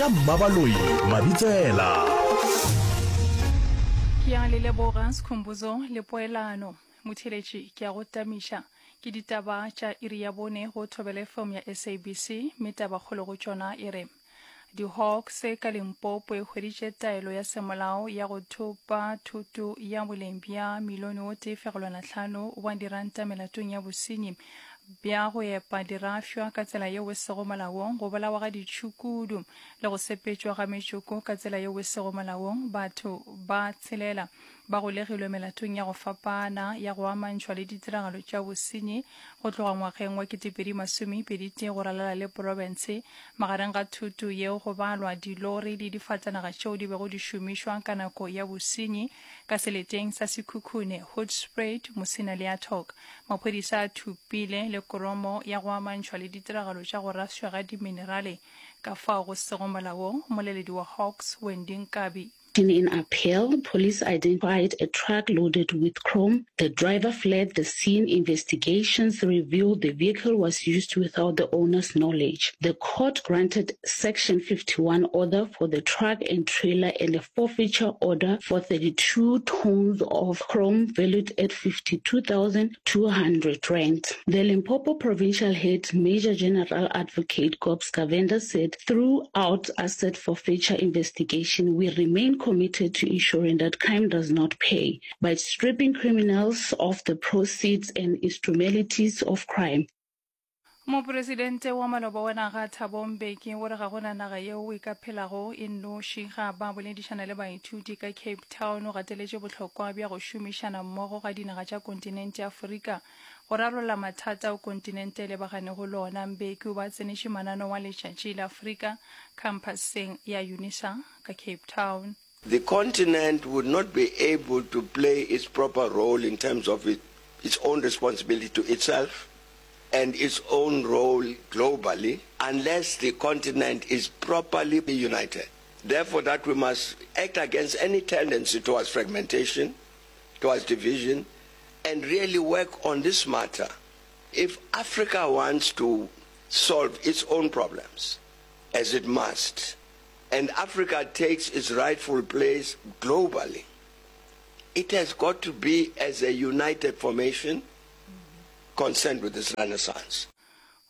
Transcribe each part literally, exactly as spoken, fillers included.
Ka Mmabaloi Mabitsela. Ke a le leboga Skhumbuzo le Poelano. Motheeletši, ke a go tamiša. Ke ditaba tša iri ya bone go Thobela F M ya S A B C, mme tabakgolo go tšona e re di-Hawks ka Limpopo e hweditše taelo ya semolao ya go thopa thoto ya boleng bja milione o tee fegelwana hlano wa diranta melatong ya bosenyi bja go epa dirafšwa ka tsela yeo e sego molaong, go bolawa ga ditšhukudu le go sepetšwa ga metšoko ka tsela yeo e sego molaong. Batho ba tshelela ba golegilwe melatong ya go fapana ya go amantšhwa le ditiragalo tša bosenyi go tloga ngwageng wa ketepedi masomepedi tee go ralala le profense. Magareng ga thuto yeo go balwa dilori le difatanaga tšeo di bego di šomišwa ka nako ya bosenyi ka seleteng sa Sekhukhune, Hoedspruit, Musina le Atok. Maphodisa a thupile le kromo ya go amantšhwa le ditiragalo tša go raswa ga diminerale ka fao go sego molaong. Mmoleledi wa Hawks, Wendy Nkabi. In appeal, police identified a truck loaded with chrome. The driver fled the scene. Investigations revealed the vehicle was used without the owner's knowledge. The court granted Section fifty-one order for the truck and trailer and a forfeiture order for thirty-two tons of chrome valued at fifty-two thousand two hundred rand. The Limpopo Provincial Head, Major General Advocate Gobs Govender, said throughout asset forfeiture investigation, we remain committed to ensuring that crime does not pay by stripping criminals of the proceeds and instrumentalities of crime. Mopresidente wa maloba wa naga Thabo Mbeki o re ga gona naga yeo e ka phelago e nnoši. Ga ba boledišana le baithuti ka Cape Town, o gateletše bohlokwa bja go šomišana mmogo ga dinaga tša kontinente ya Afrika go rarolla mathata ao kontinente e lebaganego le ona. Mbeki o ba tseneše mananeo wa Letšatši la Afrika khamphaseng ya UNISA ka Cape Town. The continent would not be able to play its proper role in terms of it, its own responsibility to itself and its own role globally unless the continent is properly united. Therefore, that we must act against any tendency towards fragmentation, towards division, and really work on this matter. If Africa wants to solve its own problems, as it must, and Africa takes its rightful place globally, it has got to be as a united formation concerned with this renaissance.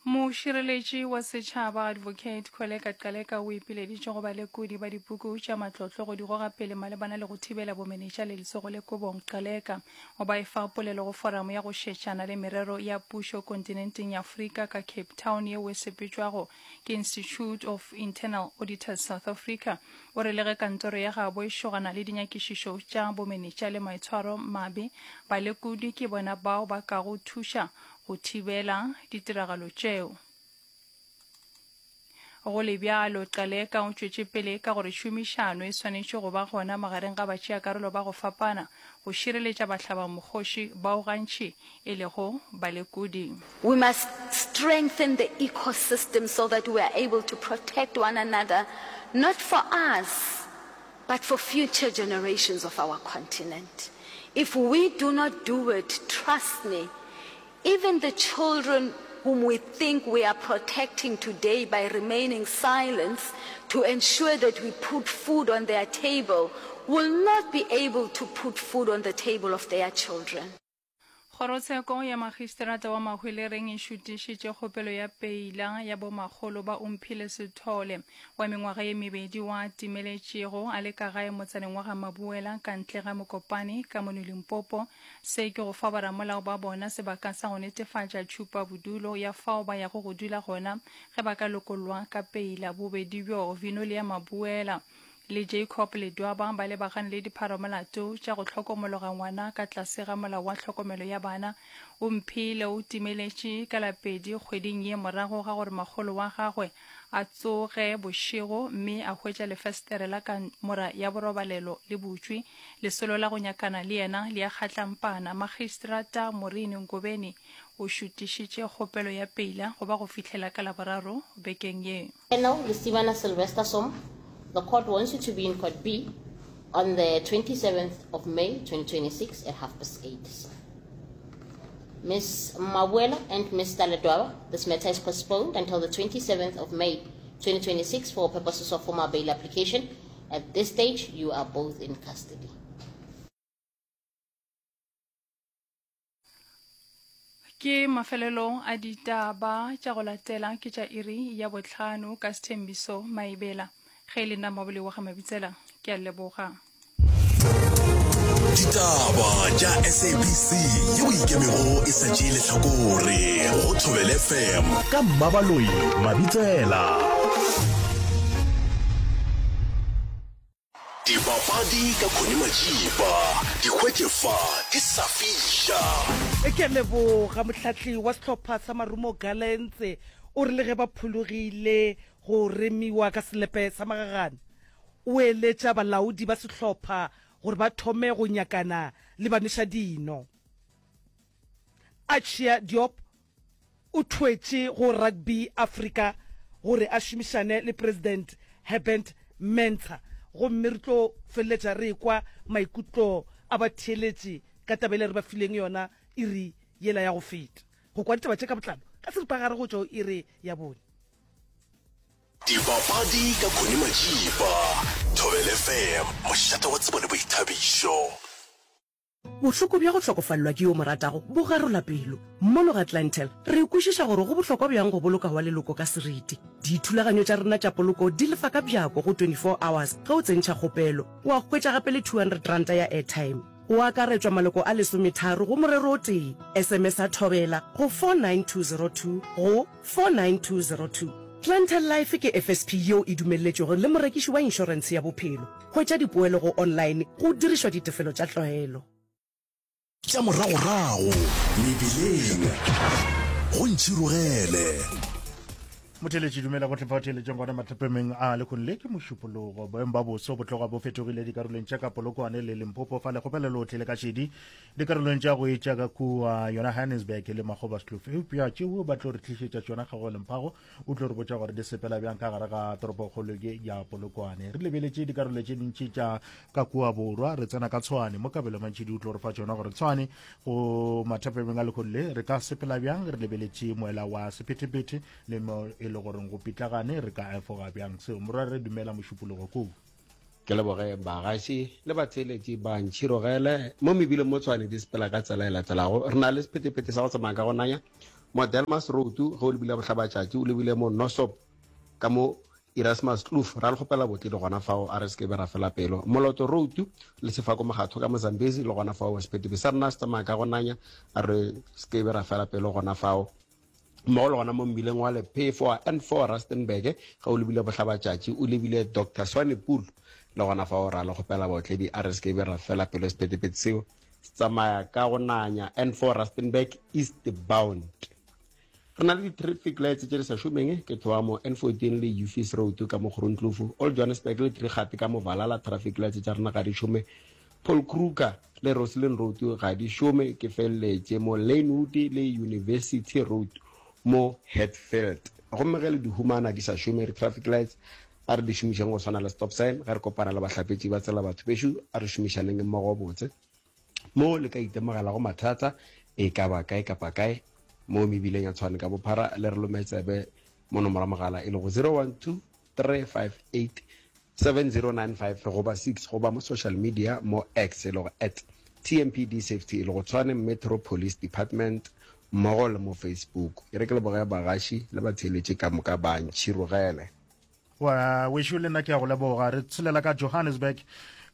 Mošireletši wa setšhaba Advocate Kholeka Gcaleka o ipileditše go balekodi ba dipuku tša matlotlo go di goga pele malebana le go thibela bomenetša le letsogo le kobong. Gcaleka o ba efa polelo go foramo ya go šetšana le merero ya pušo kontinenteng ya Afrika ka Cape Town yeo e sepetšwago ke Institute of Internal Auditors South Africa. O re le ge kantoro ya gabo e šogana le dinyakišišo tša bomenetša le maitshwaro mabe, balekodi ke bona bao ba kago thuša go thibela ditiragalo tšeo. Go le bjalo, Gcaleka o tšwetše pele ka gore tšhomišano e swanetše go ba gona magareng ga batšeakarolo ba go fapana go šireletša bahlabamokgoši bao gantši e lego balekodi. We must strengthen the ecosystem so that we are able to protect one another, not for us, but for future generations of our continent. If we do not do it, trust me, even the children whom we think we are protecting today by remaining silent to ensure that we put food on their table will not be able to put food on the table of their children. Kgorotsheko ya Magistrata wa Mahwelereng e šutišitše kgopelo ya peila ya bomakgolo ba Omphile Sithole wa mengwaga ye mebedi wa timeletšego a le ka gae motsaneng wa ga Mabuela ka ntle ga Mokopane ka mono Limpopo. Se ke go fa boramolao ba bona sebaka sa go netefatša tšhupa bodulo ya fao ba yago go dula gona ge ba ka lokollwa ka peila. Bobedi bjo, Vinolia Mabuela le Jacob Ledwaba, ba lebagane le dipharamolato tša go hlokomologa ngwana ka tlase ga molao wa tlhokomelo ya bana. Omphile o timeletše ka lapedi kgweding ye morago ga gore makgolo wa gagwe a tsoge bošego mme a hwetša lefestere la kamora ya borobalelo le butšwe. Lesolo la go nyakana le yena le ya kgatlampana. Magistrata Maureen Ngobeni o šutišitše kgopelo ya peila go ba go fihlela ka Laboraro bekeng ye. Colonel Lesibana Sylvester Som, the court wants you to be in Court B on the twenty-seventh of May twenty twenty-six at half past eight. Miz Mabuela and Mister Ledwaba, this matter is postponed until the twenty-seventh of May. twenty twenty-six for purposes of formal bail application. At this stage, you are both in custody. Ke mafelelo a ditaba tša go latela ke tša iri ya bohlano ka Sethembiso Maibela. Ge e le nna Mabole wa ga Mabitsela, ke a leboga. Ditaba tša S A B C yeo ikemego e sa tšee lehlakore go Thobela F M ka Mmabaloi Mabitsela. Dipapadi ka Connie Majiba, di hwetše fa di sa fiša. Ke a leboga. Mohlahli wa sehlopha sa Marumo Gallants o re le ge ba phologile go remiwa ka selepe sa magagane, o eletša balaodi ba sehlopha gore ba thome go nyakana le banwešadino. Achia Diop o thwetše go Rugby Africa gore a šomišane le President Herbert Mensah, gomme re tlo feleletša re ekwa maikutlo a batheeletši ka taba yela re ba fileng yona iri yela ya go feta. Go kwa ditaba tše ka botlalo ka seripagare go tšwa go iri ya bone. Dipapadi ka Connie Majiba, Thobela F M, mošate wa tsebo le boithabišo. Bohloko bja go hlokofalelwa ke yo o mo ratago bo garola pelo. Mono ga Clientele, re kwešiša gore go bohlokwa bjang go boloka wa leloko ka seriti. Dithulaganyo tša rena tša poloko di lefa ka bjako go twenty-four hours ge o tsentšha kgopelo. Wa hwetša gape le two hundred ranta ya airtime. Go akaretšwa maloko a lesometharo go morero o tee. S M S a Thobela go four nine two zero two go four nine two zero two. Clientele Life ke F S P yeo e dumelletšwego le morekiši wa inšorentshe ya bophelo. Hwetša dipoelo go online go dirišwa ditefelo tša tlwaelo. Tša moragorago mebileng go ntšhirogele. Motheeletši, dumela go tlhepa o theeletšeng gona mathapemeng a lekgong le ke mošupologo. Boemo ba boso bo tloga bo fetogile dikarolong tša ka Polokwane le Limpopo, fa lekgopelo lohle le ka šedi dikarolong tša go etša ka kua yona Johannesburg le Makgobaskloof. Eupša tšeo ba tlo re tlišetša tšona Kgago Lemphago o tlo re botša gore di sepela bjang ka gare ga toropokgolo ye ya Polokwane. Re lebeletše dikarolo tše dintši tša ka kua borwa, re tsena ka Tshwane mo Kabelo Mantšhidi o tlo re fa tšona gore Tshwane go mathapemeng a lekgong le re ka sepela bjang, re lebeletše moela wa sephethephethe le mo e le goreng go pitlagane re ka efoga bjang seo. Morwa re dumela mošupologo koo. Ke leboge bagaši le batheeletši ba ntšhirogele mo mebileng mo Tshwane di sepela ka tsela e latelago. Re na le sephethephethe sa go tsamaya ka go nanya mo Delmas Road ge o lebile bohlabatšatši, o lebile mo Nosop ka mo Erasmus Kloof, ra le kgopela botle le gona fao, a re se ke be ra fela pelo. Moloto Road le Sefako Mogatho ka Mozambique le gona fao, sephethephethe sa rena se tsamaya ka go nanya, a re se ke be ra fela pelo gona fao. Mmogo le gona mo mmileng wa Lephefo wa N four Rustenburg ge o lebile bohlabatšatši, o lebile Doctor Swanepoel le gona fao, ra le kgopela baotledi, a re se ke be ra fela pelo. Sephethephethe seo se tsamaya ka go nanya N four Rustenburg eastbound. Re na le di-traffic lights tše di sa šomeng, ke tloga mo N fourteen le Ufis Road ka mo Groenkloof, Old Johannesburg le Trigate ka mo Valhalla, traffic lights tša rena ga di šome. Paul Kruger le Roslyn Road ga di šome, ke feleletše mo Lanewood le University Road mo Hatfield. Gomme ge le di humana di sa šome di-traffic lights, a re di šomišeng go swana le stop sign. Ge re kopana le bahlapetši ba tsela batho bešo, a re šomišaneng mmogo botse. Mo le ka itemogelago mathata e ka ba kae kapa kae mo mebileng ya Tshwane ka bophara, le re lome tsebe mo nomoro ya mogala e lego zero one two three five eight seven zero nine five goba six, goba mo social media mo X e lego at T M P D Safety e lego Tshwane Metro Police Department, mmogo le mo Facebook. E re ke leboge bagaši le batheeletši ka moka ba ntšhirogele. Wa wešo le nna ke a go leboga. Re tshelela ka Johannesburg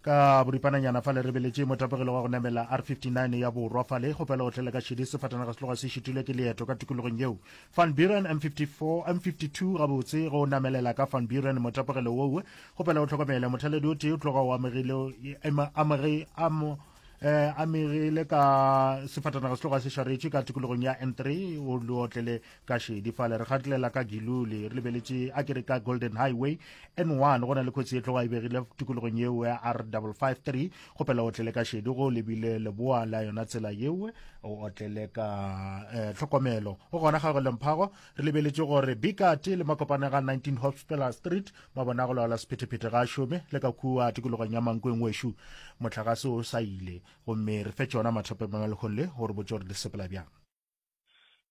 ka boripananyana fale re beletše motapegelo wa go namela R fifty-nine ya borwa fale. Kgopelo o tlele ka šedi, sefatanaga se tloga se šitilwe ke leeto ka tikologong yeo. Van Buren M fifty-four, M fifty-two gabotse go namelela ka Van Buren motapegelo woo. Kgopelo o tlhokomele mothaledi o tee o tloga o amegile, ema, amege, amo, eh, amegile ka sefatanaga se tloga se šaretše ka tikologong ya N three, o le otlele ka šedi fale. Re gatelela ka Giluli, re lebeletše a ke re ka Golden Highway N one, go na le kotsi e tloga e begile tikologong yeo ya R double five three. Kgopela o otlele ka šedi go lebile leboa la yona tsela yeo, o otlele ka, eh, tlhokomelo. Go gona ga go lemphago, re lebeletše gore Bikati le makopane ga nineteen Hospital Street, mabona go laola sephethephethe ga a šome, le ka kua tikologong ya Mankweng wešo motlakase o sa ile. Gomme re fe tšona mathopeng a lekgong le gore botse gore di sepela bjang.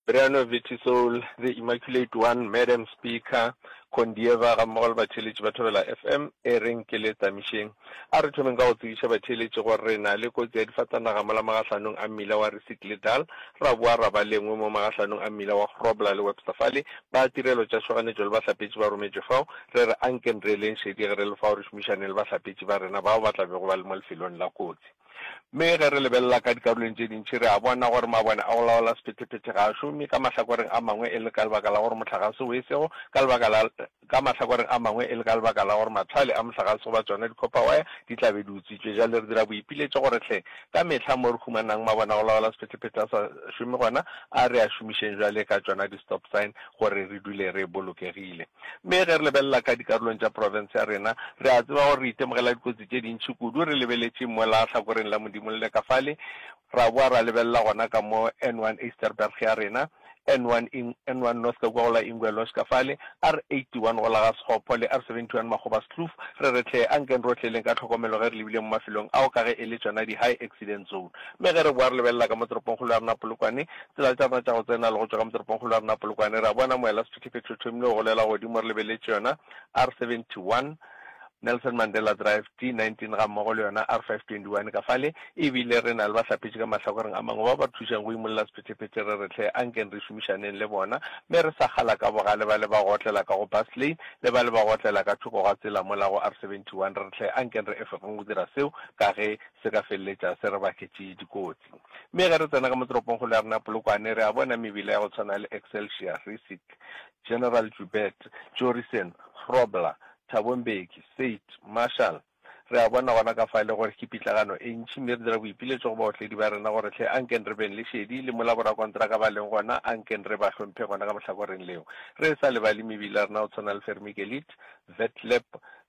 Brian Vitisoul, the Immaculate One, Madam Speaker, Kondieva gammogo le batheeletši ba Thobela F M, e reng ke le tsamišeng. A re thomeng ka go tsebiša batheeletši gore re na le kotsi ya difatanaga mola magahlanong a mmila wa Rissik le Dal, ra boa ra ba le engwe mo magahlanong a mmila wa Grobler le Webster fale. Ba tirelo tša tšhoganetšo le bahlapetši ba rometšwe fao. Re re ankeng re eleng šedi ge re le fao re šomišaneng le bahlapetši ba rena bao ba tla bego ba le mo lefelong la kotsi. Mme ge re lebelela ka dikarolong tše dintši, re a bona gore mabone a go laola sephethephethe ga a šome, ka mahlakoreng a mangwe e le ka lebaka la gore mohlagase o e sego, ka lebaka la, ka mahlakoreng a mangwe e le ka lebaka la gore mathale a mohlagase goba tšona di-copper wire di tla be di utswitšwe. Bjale re dira boipiletšo gore hle ka mehla mo re humanang mabone a go laola sephethephethe a sa šome gona, a re a šomišeng bjale ka tšona di-stop sign gore re dule re bolokegile. Mme ge re lebelela ka dikarolong tša profense ya rena, re a tseba gore re itemogela dikotsi tše dintši kudu. Re lebeletše mola hlakoreng la Modimo le ka fale, ra boa ra lebelela gona ka mo N one Ysterberg ya rena, N one N one North ka kua go la Ingwe Lodge ka fale, R eighty one go la ga Sekgopho le R seventy one Makgobaskloof. Re re hle, ankeng rohle leng ka tlhokomelo ge re lebile mo mafelong ao ka ge e le tšona di-high accident zone. Mme ge re boa re lebelela ka mo toropongkgolo ya rena Polokwane, tsela tša rena tša go tsena le go tšwa ka mo toropongkgolo ya rena Polokwane, re a bona moela sephethephethe o thomile go golela godimo re lebeletše yona R seventy one, Nelson Mandela Drive, D nineteen gammogo le yona R five twenty one ka fale, e bile re na le bahlapetši ka mahlakoreng a mangwe bao ba re thušang go imolla sephethephethe re re hle ankeng re šomišaneng le bona mme re sa kgala ka bogale ba le ba go otlela ka go bus lane le ba le ba go otlela ka thoko ga tsela mola go R seventy one re re hle ankeng re efogeng go dira seo ka ge se ka feleletša se re baketše dikotsi. Mme ge re tsena ka mo toropongkgolo ya rena Polokwane re a bona mebila ya go tshwana le Excelsior, Rissik, General Joubert, Jorissen, Grobler, Thabo Mbeki, Seit, Marshall. Re a bona gona ka fale gore ke pitlagano e ntši, mme re dira boipiletšo go baotledi ba rena gore hle ankeng re beng le šedi, le mola borakontraka ba leng gona, ankeng re ba hlomphe gona ka mohlakoreng leo. Re sa lebale mebila ya rena go tshwana le Vermigelit, Vetlep,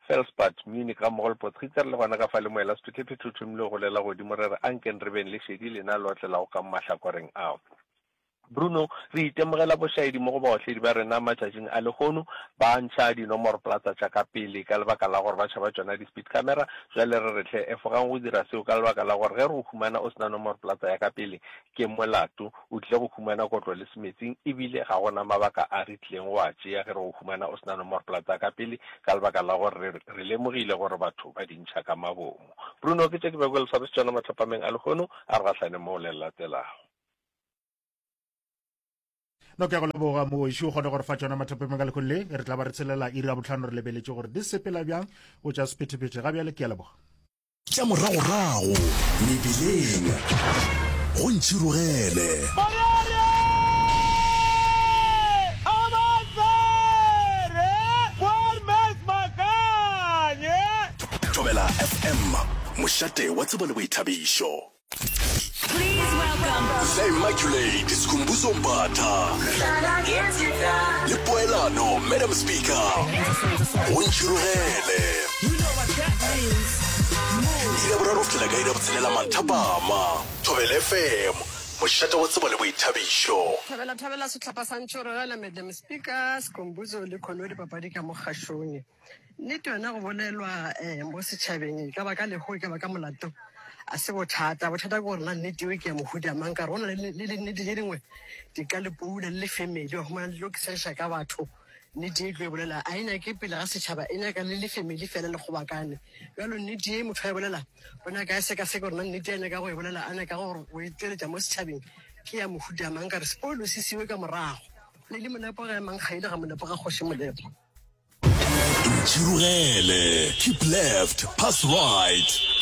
Felspad, Munich gammogo le Potgieter, le gona ka fale moela sephethephethe o thomile go golela godimo, re re ankeng re beng le šedi lena le otlelago ka mo mahlakoreng ao. Bruno, re itemogela bošaedi mo go baotledi ba rena matšatšing a lehono, ba ntšha dinomoroplata tša ka pele ka lebaka la gore ba tšhaba tšona di-speed camera. Bjale re re hle, efogang go dira seo ka lebaka la gore ge re go humana o se na nomoroplata ya ka pele ke molato, o tlile go humana kotlo le semetsing, ebile ga go na mabaka a re tlileng go a tšea ge re go humana o se na nomoroplata ya ka pele ka lebaka la gore re, re lemogile gore batho ba di ntšha ka mabomo. Bruno, ke tše ke bego ke le swaretše tšona mathapameng a lehono, a re gahlane mo le latelago. No, ke a go leboga mogoši, o kgone gore fa tšona mathapameng ka lehono le re tla ba re tshelela iri ya bohlano re lebeletše gore di sepela bjang go tša sephethephethe. Ga bjale ke a leboga. Tša moragorago mebileng go ntšhirogele. Thobela F M, mošate wa tsebo le boithabišo. Please welcome The Immaculate Skhumbuzo Mbatha le Poelano Madam Speaker go ntšhirogele. Iri ya boraro go fihlela ka iri ya botshelela manthapama. Thobela F M, mošate wa tsebo le boithabišo. Thabela thabela sehlopha sa Ntšhirogele, Madam Speaker, Skhumbuzo le Khono dipapadi ka mo kgašong. Nnete yona go bolelwa um mo setšhabeng e ka ba ka leho e ka ba ka molato a se bothata. Bothata ke gore na nnete eo ke ya mohuta mang, ka gore go na le le dinnete tše dingwe di ka le poula le le family wa humana le tlo kisešša ka batho. Nnete e tlo e bolela a e nyake pele ga setšhaba, e nyaka le le family fela le kgobakane. Bjalo nnete ye motho a e bolela o nyaka a sekaseke gore na nnete a nyaka go e bolela a nyaka gore go e tšweletša mo setšhabeng ke ya mohuta mang, ka re sepolo se siwe ka morago. Lady Molepo ga e mang kgaile ga Molepo ga kgoši Molepo. Ntšhirogele, keep left, pass right.